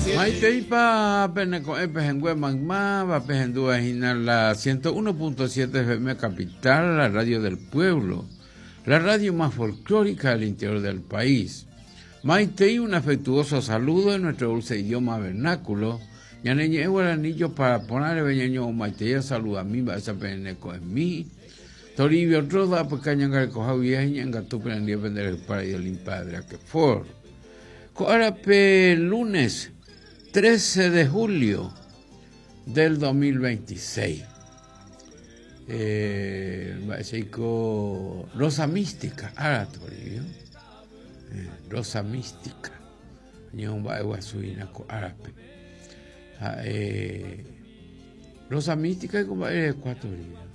Maiteipa pene ko'ẽ pehẽngue maymáva pehendúva hína la 101.7 FM Capital, la radio del pueblo, la radio más folclórica del interior del país. Maitei un afectuoso saludo en nuestro dulce idioma vernáculo. Ñane ñe'ẽ guarani jopara porã reve ñaño'omaitei saludami mba'éicha pene ko'ẽmi. Toribio Roda apyka ñangarekoha guive ha iñe'ẽngatu penendive pende rayhupára Idolin Padre Aquefor. Ko árape lunes 13 de julio del 2026. Eh, mba'éichaiko Rosa Mística, ára Toribio. Eh, Rosa Mística. Ñemomba'eguasu hína ko árape. Ha'e Rosa Mística ko mba'e rekua Toribio.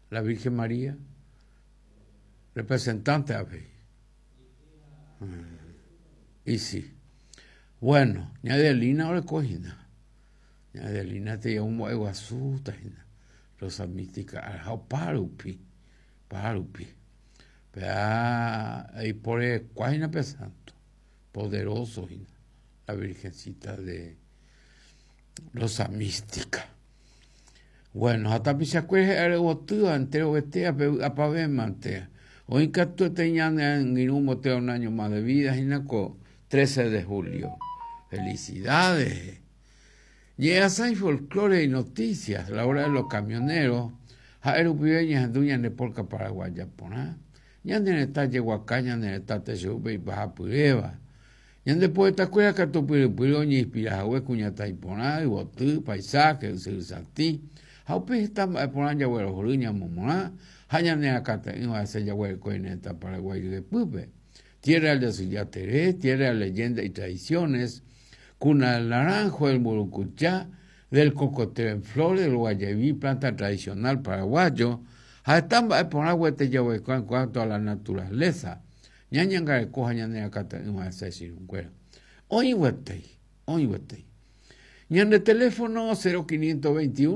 La Virgen María, representante avei. Y sí. Bueno, ña Adelina oreko hína. Ña Adelina te'i omomba'eguasúta hína. Rosa Mística ha opárupi, opárupi. Péa eiporekua hína pe santo, poderoso hína, la Virgencita de Rosa Mística. Bueno, ha tapichakuéra he'áre yvotýva enterovetévape vy'apavémante. Oĩ katuete ñane angirũ mbotéva un año más de vida hína ko 13 de julio. Felicidades. Ñe'ẽasãi folklore y noticias, la hora de los camioneros, ha'e rupive ñahendu ñane polka paraguaya porã, ñane retã jeguaka, ñane retã techeúpe ipahapyréva. Ñande poetakuéra katu pyrypyry oñeinspira hague kuñataĩ porã, yvoty, paisaje, ysyry satĩ, ha upe heta mba'e porã jaguerohory ñamomorã ha ñane rakate'ỹva hese jaguereko ñane retã Paraguái ryepýpe. Tierra del Yasyjatere, tierra de leyendas y tradiciones, cuna del naranjo, del mburukuja, del cocotero en flor, del guayeví, planta tradicional paraguayo, ha heta mba'e porã guete jaguereko en cuanto a la naturaleza. Ñañangareko ha ñaneakate'ỹva hese che irũnguéra. Oĩ guetei, oĩ guetei. Ñande teléfono 0521.